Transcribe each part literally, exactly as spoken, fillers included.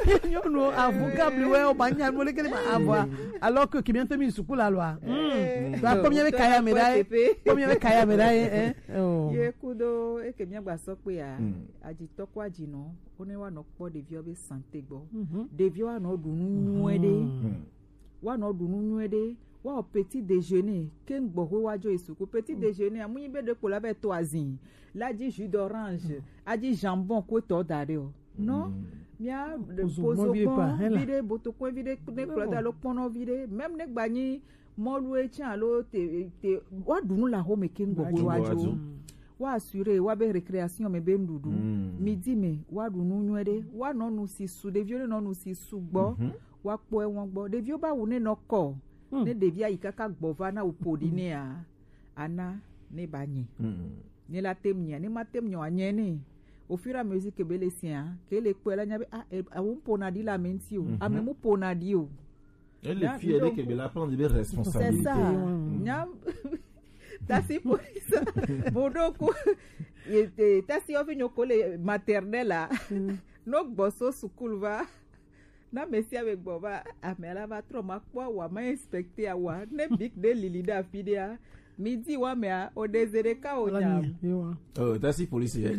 Nyɔnu avu kabli wɛ o ma nya mo leke ma avu a. Alors que kemian to mi suku la loi. Hmm. Ba ko mi be kaya me dai. Ko mi be kaya me dai eh. Oh. Ye kudo e ke mi agba so pe a. Aji to ko aji no. O ne wa no po de vio be santé gbo. De vio wa no du nu nyuie de. Wa no du nu nyuie de. Wa o petit déjeuner. Ke ngbo ho wa jo isuku. Petit déjeuner. Amu yi be de ko la be to azin. La di jus d'orange. A di jambon ko to da de o. Non, mia pozo kpɔn vi ɖe, botokɔe vi ɖe, ne kplɔ da lo kpɔnɔ vi ɖe, même ne gba nyi mɔlu e tsã alo te te wa ɖu nu le axome ke ŋgbɔ ko wa dzo. Wa assurer wa be récréation me be nuɖuɖu. Midi me wa ɖu nu nyuie ɖe, wa nɔ nu si su, ɖeviwo ne nɔ nu si su gbɔ, wa kpɔ ewɔn gbɔ. Ɖeviwo ba wu ne nɔ kɔ. Ne ɖevi ayi kaka gbɔ va na wu po ɖi nea, ana ne ba nyi. Ne la tem nyia, ne ma tem nyɔ anyɛ ne. Au fur et à mesure que be le sia, ke le kpɔe la nya be ah, e- awo mpona ɖi la me ŋti o. Ame mu pona ɖi o. Et le Nya- fie de donc- ke be la prendre des C'est responsabilités. Ça. Nya tasi polisa. Bon donc e- e- tasi ofi nyoko le maternelle la. No gbɔ so sukulu va. Na mesia be gbɔ va ame la va trɔ ma kpɔ wa ma inspecter wa ne big de lili da fi de a. Midi wa mea o de zere ka o nya. Oh, that's the police here.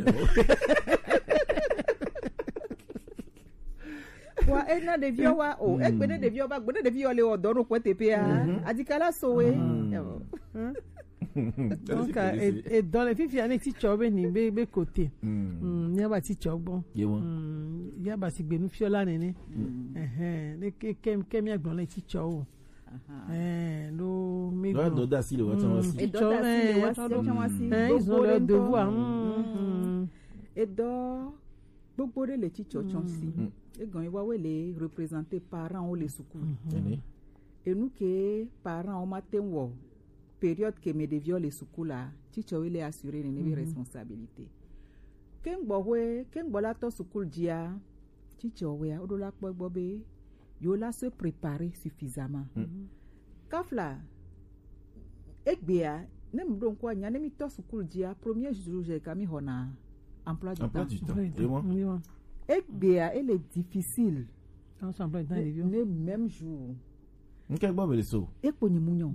Wa e na ɖeviwo wa o, egbe ne ɖeviwo va, gbe ne ɖeviwo le o dɔ no kpɔ teƒea. Adikala so we. Donc e- e dɔ le fifia ne titsɔ be ni be be kote. Mm, mia ba titsɔ gbɔ. Yewo. Mm, ya ba si gbe nu fiɔ la nene. Ehɛn, ne ke ke ke mia gbɔ le titsɔ o. Ehɛn, lo mi Dɔ gbɔ. Dɔ da si le wa tsan wa si. Edɔ da si le wa tsan wa si. Ehɛn, ils ont leur devoir. Mm. Edɔ gbogbo ɖe le titsɔ tsɔ si. Egɔn yi wa we le représenter parents wo le sukulu. Ene. Enu ke parents wo ma te wɔ période ke me ɖeviwo le sukulu la, titsɔwo le assurer nene be responsabilité. Ke ŋgbɔ hoe, ke ŋgbɔ la tɔ sukulu dzia, titsɔwo ya, woɖo la kpɔ gbɔ be yo la se préparer suffisamment. Kafla, egbea, ne mi ɖo ŋkɔ anya, ne mi tɔ sukulu dzia, premier jour je ka mi xɔna emploi du temps. Emploi du temps. Egbea, ele difficile. Ensemble dans les vieux. Ne même jour. Nke gbɔ be le so. Ekpo nyi munyɔ.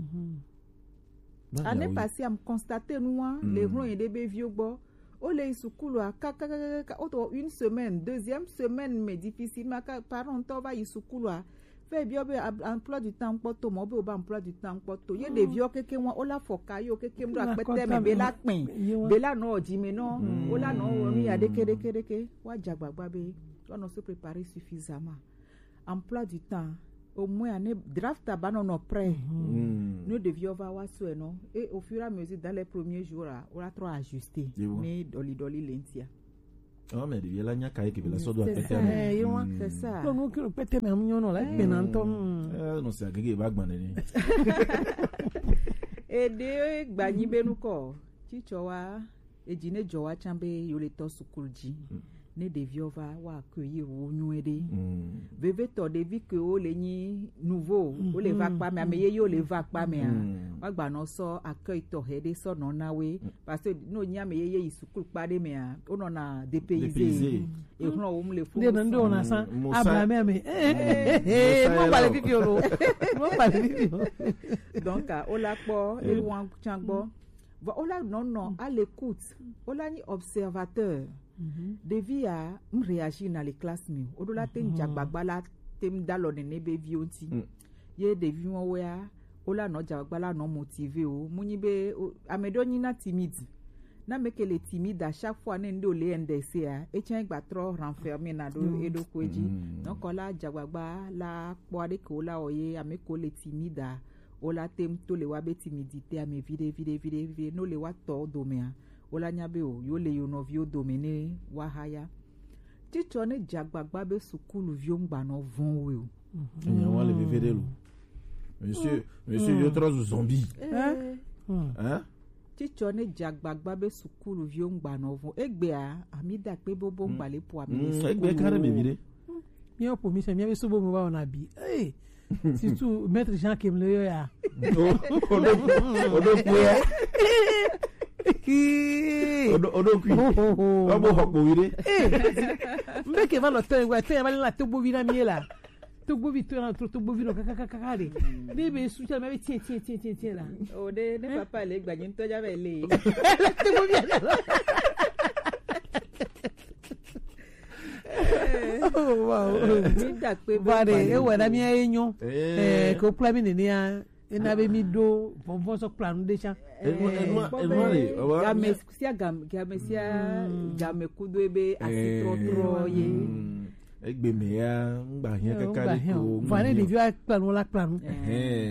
Ane pasi am constater nua le hlɔn yi ɖe be viwo gbɔ. O le yi sukulu a kakakaka o to une semaine, deuxième semaine mais difficilement ka parent tɔ va yi sukulu a. Fɛ biɔ be emploi du temps kpɔ to mɔ be o ba emploi du temps kpɔ to ye ɖeviwo keke wa o la fɔ ka yo keke mɖo akpɛtɛ me be la kpɛ be la nɔ dzi me nɔ o la nɔ wɔ nu ya ɖeke ɖeke ɖeke wa dza gbagba be wa nɔ se préparer suffisamment. Emploi du temps, au moins ane draft a ba nɔ nɔ prêt. Ne ɖeviwo va wa sɔe nɔ et au fur et à mesure dans les premiers jours la o la trɔ ajuster ne ɖɔli ɖɔli le ŋtia. Oh mais ɖevi la nya ka ye ke be la sɔ do akpɛtɛ me. Eh, ye wa. C'est ça. Donc nous que le pete me am nyono la pe na nto. Eh non c'est agege ba gbane ni. E de gba nyi be nu ko. Titsɔ wa edzi ne dzɔ wa tsã be yo le tɔ sukulu dzi. Ne ɖeviwo va wa accueillir wo nyuie ɖe. Vevetɔ ɖevi ke wo le nyi nouveau wo le va kpa me ame ye yo le va kpa me a. Wa gba nɔ sɔ accueil tɔxɛ ɖe sɔ nɔ na we. Parce que no nyi ame ye ye yi sukulu kpa ɖe mea, wonɔna dépaysé. Dépaysé. Exlɔ wo mu le fu. Nde nde wona san. Abla me me. Eh, eh, eh, mo ba le video lo. Mo ba le video. Donc, ah, o la kpɔ, e wan tsan gbɔ. Vɔ o la nɔ nɔ à l'écoute. O la nyi observateur. Ɖevi ya m réagir na le classe me. O do la te n dza gbagba la te m da lɔ nene be viwo ŋti. Ye ɖevi wɔwo ya, wo la nɔ dza gbagba la nɔ motivé wo. Mu nyi be ame ɖewo nyi na timide. Na ame ke le timide à chaque fois ne ŋɖe wo le N D C a, etsã gba trɔ renfermé na ɖo eɖokui dzi. Donc la dza gbagba la kpɔ aɖe ke wo la wɔ ye ame ko le timide a, wo la te ŋu to le wa be timidité ame viɖe viɖe viɖe viɖe ne wo le wa tɔ domea, wo la nya be o yo le yo nɔviwo dome ne wa haya. Titsɔ ne dze agbagba be sukuluviwo ŋgba nɔ vɔn we o. Enye wa le veve ɖe lo. Monsieur, monsieur yo trɔ zu zombie. Hein? Titsɔ ne dze agbagba be sukuluviwo ŋgba nɔ vɔn. Egbea, ami da kpe bobo ŋgba le po ami le sukulu. Egbe ka ɖe me vi ɖe. Míawo ƒo mi se míabe subo me va wɔna bi. Hey! Surtout maître Jean Kem le yɔ ya. O o do o do kui ya. Kii. O do o do kui. Wa bo xɔ kpo vi ɖe. Mbe ke va nɔ tɔ ye, tɔ ye va le na togbovi na mi ye la. Togbovi tɔ na tro togbovi nɔ kaka kaka kaka de. Ne be su tsa me be tie tie tie tie tie la. O de ne papa le gba nyi tɔ ja be le. Togbovi ya la. Oh, wow. Mi da pe be. Ba de, e wɛ na mi ye nyo. Eh, ko kpla mi nene ya. Ena be mi ɖo vɔvɔ sɔ kpla nu ɖe tsã. Enua, enua, enua le, ɔba. Game sia game, game sia game kudo ebe asi trɔtrɔ ye. Egbe me ya, ŋgba hiã kaka ɖe ko. Vɔ ne ɖeviwo akpla nu la kpla nu.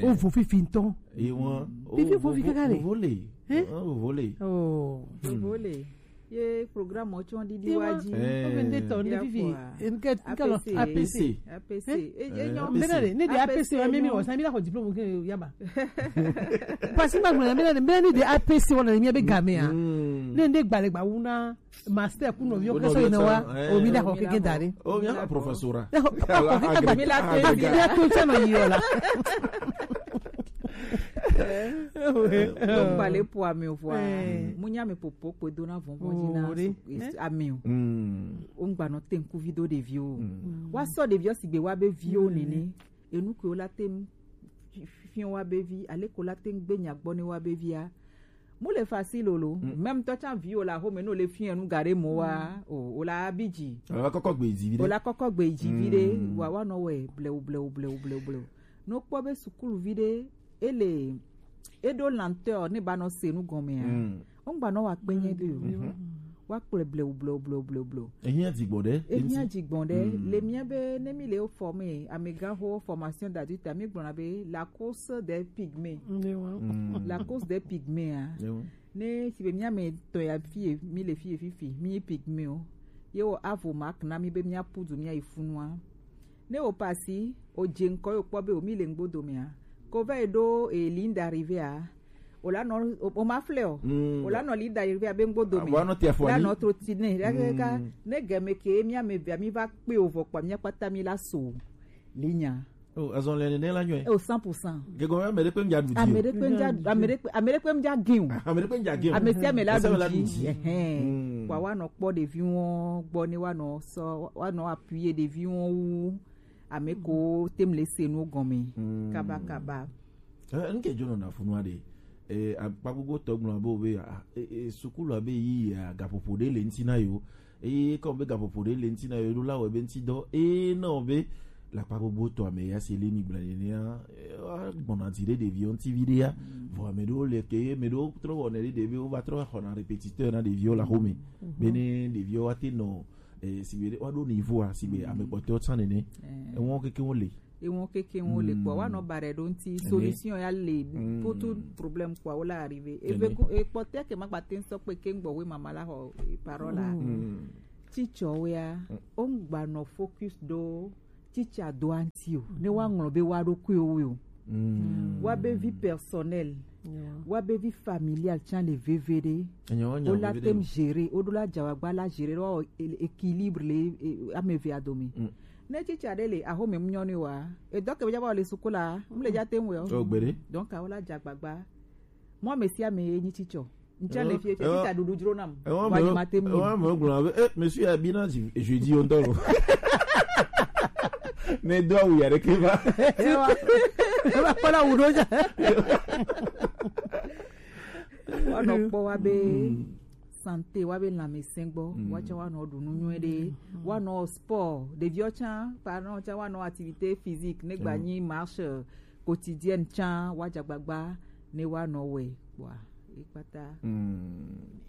Wo vo fifi ŋutɔ. Ye wɔn. Fifi vo fifi kaka le. Vo le. Vo le. Oh. Vo le. Ye programme tsɔ ɖiɖi wa dzi. Ɔmɛ nde tɔ nde fifi. Nke nke lɔ A P C. A P C. A P C. Enyo. Mbena de ne de A P C wa mi mi wɔ sa mi la xɔ diplôme ke ya ba. Parce que ma gbɔna mbena de mbena ne de A P C wa na mi be game a. Ne nde gba le gba wu na master ku nɔviwo ke so yina wa. O mi da xɔ keke da ɖe. O mi ya professora. Mi la to mi la to tsɛ nɔ yi yɔ la. Kpale po ame vɔa. Mu nya me popo kpe do na vɔvɔ dzi na ame o. O ŋgba nɔ te ŋkuvi do ɖeviwo. Wa sɔ ɖeviwo sigbe wa be viwo nene. Enu ke wo la te ŋ fi- fi- fi- wa be vi ale ko la te ŋ gbe nya gbɔ ne wa be via. Mu le facile o lo. Même tɔ tsa vi o la xome no le fi enu ga ɖe mo wa o o la bi dzi. Ala kɔkɔ gbe dzi vi ɖe. O la kɔkɔ gbe dzi vi ɖe. Wa wa nɔ wɛ blewu blewu blewu blewu blewu. No kpɔ be sukuluvi ɖe ele eɖo lenteur ne ba nɔ se nu gɔmea. Wo ŋgba nɔ wa kpe nye ɖe o. Wa kplɔe blewu blewu blewu blewu blewu. Ehiã dzigbɔn ɖe. Ehiã dzigbɔn ɖe. Le mía be ne mi le wo forme amegãxo formation d'adulte mi gblɔna be la course des pygmées. La course des pygmées a. Ne si be mía me tɔ ya fie mi le fie fifi mi pygmées o. Ye wo avo mak na mi be mía pudu mía yi funua. Ne o pasi o dze ŋkɔ yo kpɔ be o mi le ŋgbo domea. Ko va yi ɖo e ligne d'arrivée a. O la nɔ o ma flɛ o. O la nɔ ligne d'arrivée a be ŋgbo dome. O la nɔ trotine ɖe kaka ne game ke mía me vea mi va kpe o vɔ kpa mía kpata mi la so. Ligne a. O azɔn le nene la nyɔe. O cent pour cent. Gegɔn ame ɖe kpe ŋdza ɖu di o. Ame ɖe kpe ŋdza ame ɖe kpe ame ɖe kpe ŋdza gin o. Ame ɖe kpe ŋdza gin o. Ame sia ame la ɖu di. Ɛhɛn. Wa wa nɔ kpɔ ɖevi wɔn gbɔ ne wa nɔ sɔ wa nɔ appuyer ɖevi wɔn wu. Ame ko tem le se nu gɔme. Kaba kaba. Eh, nke jono na funua de. Eh, akpa gbogbo tɔ gblɔ be be ah, eh, eh, sukulu abe yi ya gaƒoƒo ɖe le ŋti na yo. Eye kɔ be gaƒoƒo ɖe le ŋti na yo ɖo la wɔ be ŋti dɔ. Eh, na be la akpa gbogbo tɔ ame ya se le mi gblɔ ne ya. Eh, wa gbɔna ti ɖe ɖeviwo ŋti vi ɖe ya. Vɔ ame ɖewo le ke ame ɖewo trɔ wɔnɛ ɖe ɖeviwo va trɔ xɔna répétiteur na ɖeviwo la xome. Bene ɖeviwo wa te nɔ eh, si be wa ɖo niveau a si be ame kpɔtɔwo tsã nene. Ewɔn keke wo le. Ewɔn keke wo le kpɔ wa nɔ ba ɖe ɖo ŋti solution ya le. Potu problème kpɔ wo la arrivé eve ekpɔtɛ ke ma kpate ŋsɔ kpe ke ŋgbɔ we mama la xɔ parole la. Titsɔwo ya o ŋgba nɔ focus ɖo titsa do anti o ne wa ŋlɔ be wa ɖo kue wo o. Wa be vie personnelle, wa be vie familiale tsã le veve ɖe. O la tem gérer o ɖo la dza wa gba la gérer wa équilibre le ame eve adome. Ne titsa ɖe le axome mu nyɔnu wa edɔ ke be dza va le suku la mu le dza tem wɛ o. Donc awo la dza gbagba mɔ ame sia ame ye nyi titsɔ. Ŋtsã le fie fie fita ɖuɖu dzro nam. Wa nyi ma te mu. Ewa me gblɔ be eh monsieur abi na jeudi o ŋdɔ lo. Ne do awu ya ɖeke va. Ewa ewa kpɔ la wu ɖo dza. Wa nɔ kpɔ wa be santé wa be lãmesẽ gbɔ wa tsã wa nɔ ɖu nu nyuie ɖe wa nɔ sport ɖeviwo tsã parents tsã wa nɔ activité physique ne gba nyi marche quotidienne tsã wa dzagbagba ne wa nɔ wɛ kpɔa ekpata.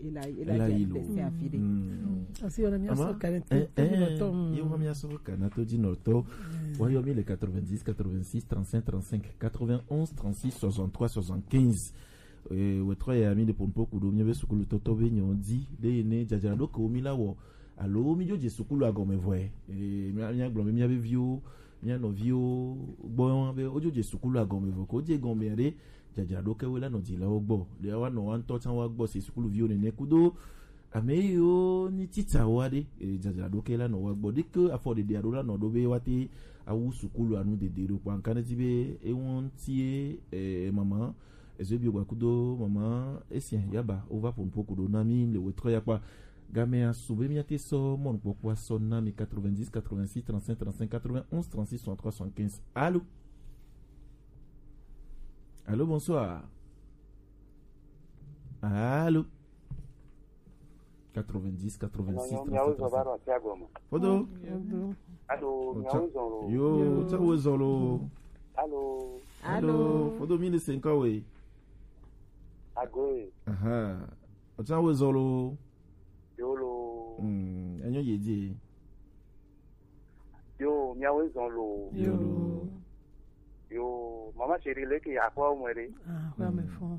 Ela ela ela yi lo desi afi de. Asi wana mi aso kare to to mi no to. Yo mi aso kana to di no to. Wa yo mi le quatre-vingt-dix quatre-vingt-six trente-cinq trente-cinq quatre-vingt-onze trente-six soixante-trois soixante-quinze. Eh, wetrɔ ya mi de pompo kudo mi be sukulu toto be nyo di de ne jajara do ko mi la wo. Alo mi jo je sukulu agome vo e. Eh, mi mi gblɔ mi mi be viwo mi nɔviwo gbɔ be o jo je sukulu agome vo ko je gɔme de. Jajraɖo ke woe la nɔ dzilawo gbɔ. Ɖe woanɔ woawo ŋutɔ tsã woagbɔ se sukuluviwo nene kudo ame yiwo nyi titsawo aɖe, eh, jajraɖo ke la nɔ woagbɔ. Ɖeke afɔɖeɖe aɖewo la nɔ ɖo be woate awu sukulu anu dede ɖo kpɔ. Ŋka ne ti be ewo ŋutie, eh, mama, ezo bi gba kudo mama, esia yaba, wova ƒo nuƒo ku ɖo na mi le wetrɔ ya kpa. Game asu be miate sɔ mɔnukpɔkpɔ asɔ na mi quatre-vingt-dix, quatre-vingt-six, trente-cinq, trente-cinq, quatre-vingt-onze, trente-six, soixante-trois, soixante-quinze. Allô? Allô, bonsoir. Allô? quatre-vingt-dix, quatre-vingt-six, trente-cinq, trente-cinq. Fodo. Fodo. Allô, miawo zɔn lo. Yo, tsa wo zɔn lo. Allô. Allô. Fodo mi ne senka we. Agoe. Aha. Otsa wo zɔn lo. Yo lo. Hmm, enyo ye di. Yo, miawo zɔn lo. Yo lo. Yo, mama chérie, leke akwa omwe re. Ah, akwa me fon.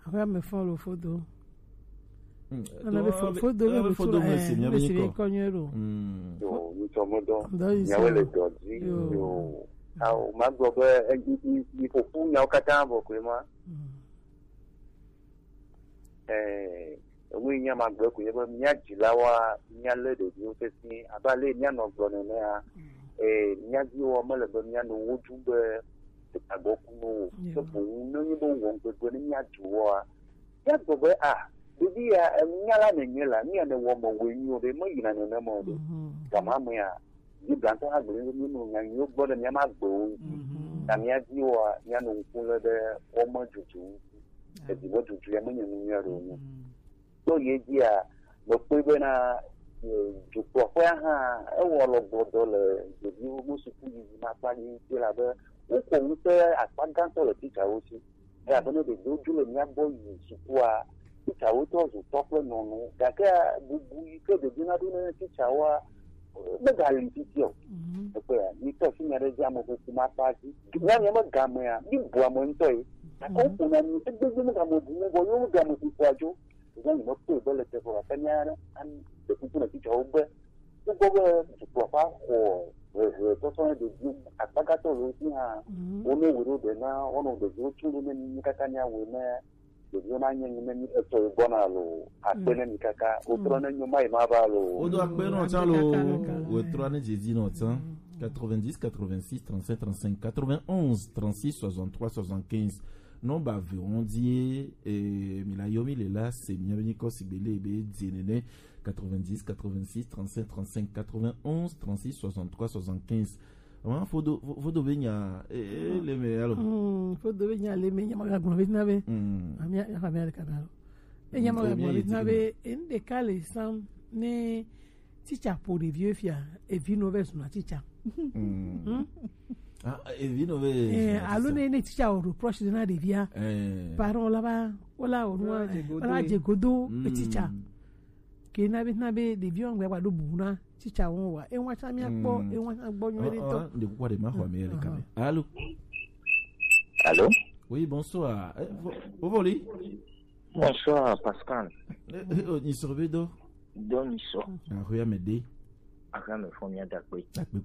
Akwa me fon lo fodo. Hmm, ana be fo- fodo be fodo me si mi be ko nyo lo. Hmm. Yo, ni to mo do. Miawo le do di. Yo. Awo ma gbɔ be ni ko fu nyawo kata bo ko ma. Eh, enu yi nya magblɔe ko nye be mía dzilawoa, míalé ɖeviwo sesĩe abe ale yi míanɔ gblɔ nenea. Eh, mía viwo mele be míanɔ wo ɖum be agbɔ ku no o. Ke boŋ ne nyi be wowɔ ŋgbegbe ne mía du woa, míagblɔ be, ah, ɖevi ya, enu nya la nènye la, nu ya nèwɔ me wɔe nyuie o ɖe, meyina nenema o ɖe. Gama mea, Biblia ŋutɔ hã gblɔe be míenɔ nya nyuiwo gblɔ ɖe mía ƒe agbewo ŋuti. Ta mía viwoa, míanɔ ŋku lém ɖe wo me dudu ŋuti. Evi me dudu ya menye nu nyui aɖe wònye. To ye dzia, mekpɔe bena, eh, dukplɔƒea hã ewɔ alɔgbɔdɔ le ɖeviwo ƒe sukuyiyi ƒe akpa dzi ŋuti elabe wokɔ ŋusẽ akpa gãtɔ le titsawo si. Elabe ne ɖeviwo dzo le mía gbɔ yi sukua, titsawo trɔ zu tɔ kple nyɔnu. Gake bubu yi ke ɖevi naɖo ne titsawoa, megali titi o. Ekpɔe ya, mi tɔ si nya ɖe dzi ame ƒoƒo ma kpa dzi. Nya nya me gamea, mi bu ame ŋutɔ ye. Gake woƒona nu, egbegbe me game bu mo, vɔ yewo game ƒoƒoa dzo. Zan me kpɔe be le teƒe ɖeka nya ɖe, an-, ɖe kuku na titsawo be, wokpɔ be dukplɔƒea xɔ hehe tɔtɔ ne ɖevi akpagãtɔ le wo si hã, wone wòe ɖo ɖe na, woanɔ ɖeviwo tum ɖo ne mi katã miawɔe ne ɖeviwo nanye nu ne mi etɔ yi gbɔna lo, akpe ne mi kaka, wotrɔ ne nyo mayi ma va lo. Wodo akpe nɔ tsã lo, wetrɔ ne dzedzi nɔ tsã. Quatre-vingt-dix, quatre-vingt-six, trente-cinq, trente-cinq, quatre-vingt-onze, trente-six, soixante-trois, soixante-quinze. Nɔmba ve wɔn dzie, eh, mi la yɔ mi le la, se mi be nyikɔ sigbe le be dzie nene. Quatre-vingt-dix, quatre-vingt-six, trente-cinq, trente-cinq, quatre-vingt-onze, trente-six, soixante-trois, soixante-quinze. Ama fodo, fo- fodo be nya, eh, eh, le me alo. Mm, fodo be nya le me nya ma gblɔ be na be. Mm. Ami ya fa me le kana lo. E nya ma gblɔ be na be, en de ka le sam ne teacher po ɖeviwo fia, evi nɔ ve zuna teacher. Mm. Hmm? Ah, evi nɔ ve. Eh, zuna alo teacher. Ne, ne teacher o reproche na ɖevia. Eh. Parent la va, wala o nua, wala dze godo, mm, teacher. Ke na be, na be ɖeviwo ŋgbe va ɖo bu na teacher wo wa. E wa tsã mía kpɔ, mm, e wa tsã gbɔ nyuie ɖe tɔ. Oh, oh, de kukua de ma xɔ mi le kame. Alo. Alo. Oui, bonsoir. Eh, vo-, vo voli. Bonsoir, Pascal. Eh, eh, oh, ni sorbe do. Do ni so. Ah, oui, mais de. Aka me fo mi adakpe. Akpe po.